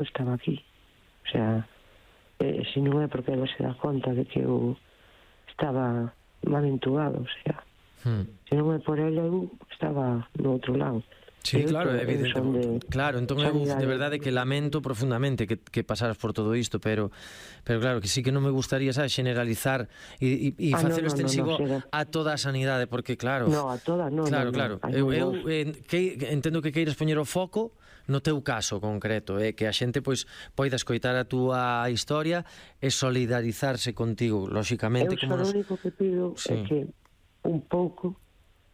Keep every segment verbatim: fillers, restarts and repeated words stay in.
estaba aquí. O sea, eh, se non é porque ela se dá conta de que eu estaba mal entubado, o sea, hmm. se non é por ela, eu estaba no outro lado. Sí, Eu claro, to- evidente. son de Claro, entón eu sanidade. de verdade que lamento profundamente que, que pasaras por todo isto, pero pero claro, que sí que non me gustaría, sabes, generalizar e, e, e Ah, facelo no, no, extensivo no, no, a toda a sanidade, porque claro, No, a todas, no, claro, no, claro. no. Eu, eu eh, que, entendo que queiras poñer o foco no teu caso concreto, eh, que a xente pois poida escoitar a túa historia e solidarizarse contigo, lóxicamente, Eu como só nos... o único que pido Sí. é que un pouco,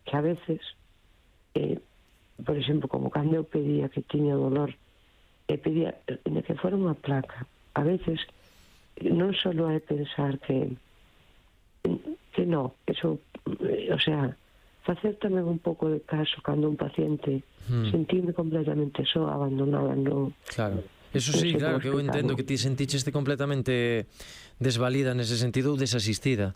que a veces, eh, por exemplo, como cando eu pedía que tiña dolor, e pedía de que fora unha placa, a veces non só é pensar que que no, eso, eh, o sea, facer tamén un pouco de caso cando un paciente Hmm. sentirme completamente só, abandonada, no. Claro. Eso Non sí, sei claro, como que eu entendo explicarlo. que ti senticheste completamente desvalida nese sentido ou desasistida.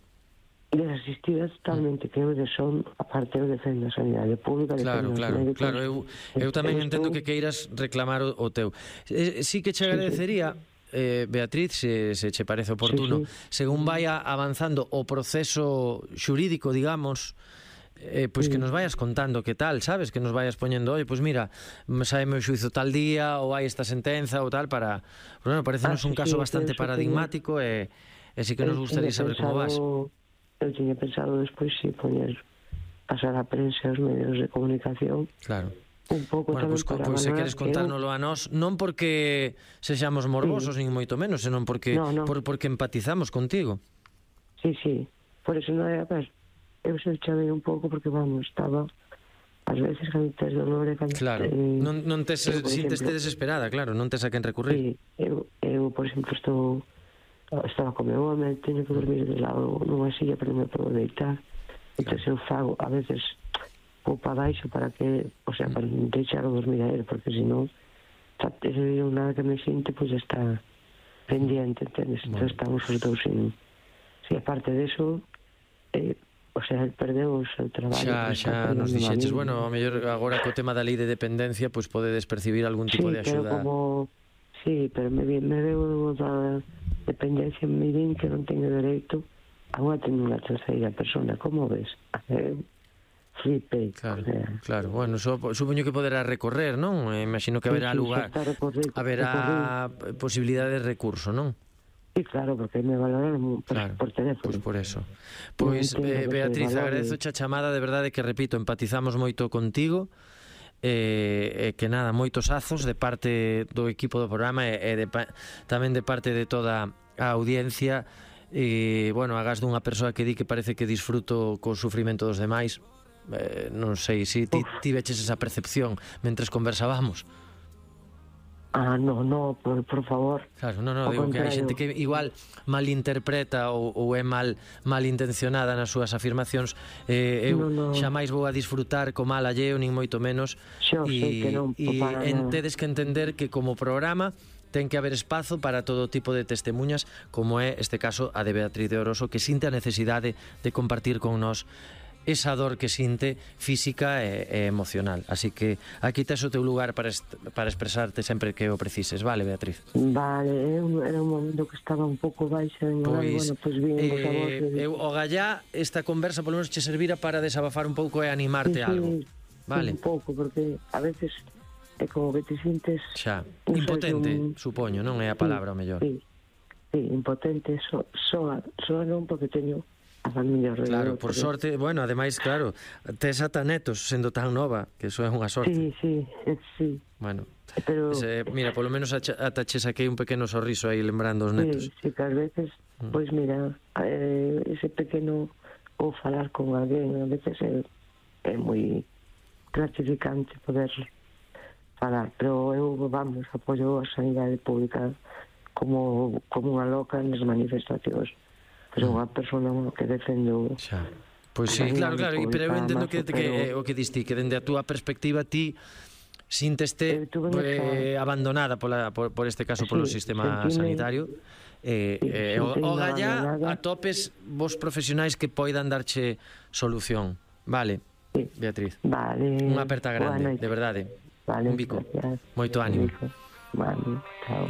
Desasistida totalmente, que eu de son, aparte eu defendo a sanidade pública, Claro, defendo os claro, médicos. claro, eu, eu tamén Estou- entendo que queiras reclamar o, o teu. Eh, sí que che agradecería, eh, Beatriz, se, se che parece oportuno, Sí, sí. según vaya avanzando o proceso xurídico, digamos, eh, pois Sí. que nos vayas contando que tal, sabes? Que nos vayas poñendo, oi, pois mira, saeme o xuizo tal día, ou hai esta sentenza ou tal, para... Bueno, parecenos Ah, un sí, caso sí, bastante eu só paradigmático e, e sí que nos Eu gustaría tiña saber como vas. pensado- Eu tiña pensado despois si poñer, pasar a prensa e os medios de comunicación Claro. un pouco Bueno, tamén pois, para pois se valorar queres que eu- contárnoslo a nós, non porque sexamos morbosos, nin moito menos, senón porque No, no. por, porque empatizamos contigo. Sí, sí, por eso non é, a ver, eu se chamei un pouco porque, vamos, estaba ás veces cando tes dolor e cando... Claro, eh, non, non tes, eu, por sinteste exemplo, desesperada, claro, non tes a quen recurrir. Sí, eu, eu, por exemplo, estou estaba co meu home, teño que dormir de lado nunha silla, pero non me podo deitar. Entón eu fago, a veces, vou para baixo para que, o sea, para deixar o dormir a él, porque senón, ese día nada que me sinte, pois pues, está pendiente, entendes? Entón Bueno. estamos os dous sin... Si aparte de eso, eh, o sea, el perdeu o seu traballo. Xa, pero está xa nos perdendo a dixeches, min. bueno, ao mellor agora co tema da lei de dependencia, pois podedes percibir algún tipo Sí, de pero axuda. como... Sí, pero me, vi- me veo da dependencia, me din que non teño dereito a unha tener unha terceira persona. Como ves? Eh, flipei. Claro, O sea, claro. Bueno, so, supoño que poderá recorrer, non? Eh, imagino que haberá sí, sí, lugar, xa está recorrido, haberá posibilidade de recurso, non? Sí, claro, porque me valoraron por, Claro, por teléfono. pois por eso. Pois, Non entendo eh, que te Beatriz, valore. agradezo a chamada, de verdade que, repito, empatizamos moito contigo, e eh, que nada, moitos azos de parte do equipo do programa e, e de, tamén de parte de toda a audiencia, e, bueno, agás dunha persoa que di que parece que disfruto co sufrimento dos demais. Eh, non sei se ti, ti veches esa percepción mentres conversábamos. Ah, no, no, por, por favor. Claro, no, no, Ao digo que hai contrario. xente que igual malinterpreta ou, ou é mal malintencionada nas súas afirmacións. eh, eu No, no. xamais vou a disfrutar co mal alleo, nin moito menos. Xo sei que non, e para en, nada. tedes que entender que como programa ten que haber espazo para todo tipo de testemunhas, como é este caso a de Beatriz de Oroso, que sinte a necesidade de compartir con nós esa dor que sinte física e, e emocional. Así que aquí tes o teu lugar para, est para expresarte sempre que o precises, vale, Beatriz? Vale, eu, era un momento que estaba un pouco baixa en Pois, bueno, pois bien, eh, vos a vos, e- eu, o gallá, esta conversa polo menos che servira para desabafar un pouco e animarte Sí, a algo. sí, Vale? un pouco, porque a veces é como que te sintes... Xa, non sei, impotente, un- supoño, non é a palabra o mellor. Sí, sí, impotente, so, soa, soa non porque teño a familia alrededor. Claro, por pero- sorte, bueno, ademais, claro, tes ata netos sendo tan nova, que eso é unha sorte. Sí, sí, sí. Bueno, Pero ese, mira, polo menos acha- ata che saquei un pequeno sorriso aí lembrando os netos. sí, sí, que ás veces, Mm. pois mira, eh, ese pequeno ou falar con alguén, a veces é, é moi gratificante poder falar, pero eu, vamos, apoio a sanidade pública como, como unha loca nas manifestacións, pero unha persona que defendo... Xa. Pois sí, a claro, claro, sanidade e- pero eu pública, entendo máis, que, que pero- eh, o que diste, que dende a túa perspectiva ti sínteste Eu tuve eh, esa- abandonada pola, por, por este caso polo Sí, sistema sentime- sanitario. Eh, Sí, eh, o, sentime o gallá abandonada. atopes vos profesionais que poidan darche solución. Vale, Sí. Beatriz. Vale. Unha aperta grande, Boa noite. de verdade. Vale, Un bico. gracias. Moito Un ánimo. bico. Vale, chao.